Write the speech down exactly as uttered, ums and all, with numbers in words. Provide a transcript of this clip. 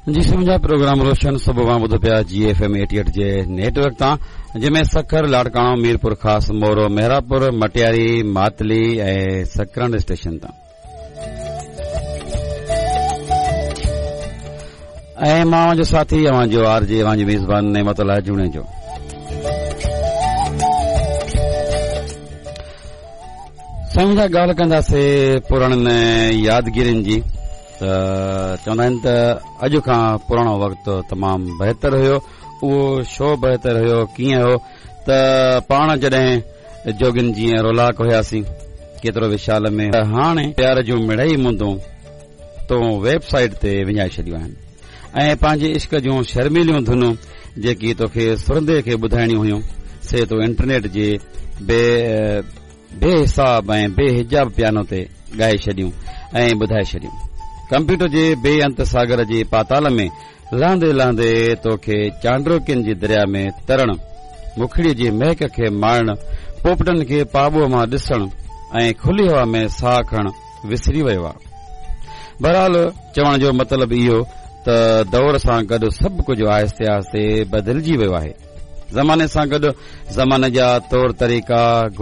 جي منهنجا پروگرام روشن صبح اوهان ٻڌو پيا جي ايف ايم ايٽي ايٽ جي نيٽ ورڪ تان، جنهن ۾ سکر، لاڙڪاڻو، ميرپور خاص، مورو، مهراپور، مٽياري، ماتلي ۽ سڪرنڊ اسٽيشن تان. ۽ مان اوهان جو ساٿي، اوهان جو آر جي، اوهان جي ميزبان نعمت الله جوڻيجو. سائين منهنجا، ڳالهه ڪنداسي پراڻن يادگيرين جي ته چوندا آهن ته اڄ کان پراڻو وقت تمام بهتر هيو. اهو ڇو بهتر هيو، ڪيئن هيو؟ ته پاڻ جڏهن جوڳين جيئن رولاڪ هياسين ڪيترو وشال ۾، هاڻي پيار جون مڙئي مندون تو ويب سائيٽ تي وڃائي ڇڏيون آهن ۽ پنهنجي عشق جون شرميليون ڌنون جيڪي توکي سرندي کي ٻڌائڻيون هيون، سي تو انٽرنيٽ جي بي بي حساب ۽ بي حجاب پيانو تي ڳائي ڇڏيون ۽ ٻڌائي ڇڏيون. ڪمپيوٽر جي بي انت ساگر جي پاتال ۾ لهندي لهندي توکي چانڊروڪين جي دريا ۾ ترڻ، مکڙي جي مهڪ کي ماڻڻ، پوپٽن کي پاٻوء مان ڏسڻ ۽ کلي هوا ۾ ساهه کڻڻ وسري ويو آهي. بهرحال چوڻ جو مطلب اهو ته دور سان گڏ سڀ ڪجهه آهستي آهستي بدلجي ويو آهي. زماني سان گڏ زماني جا طور طريقا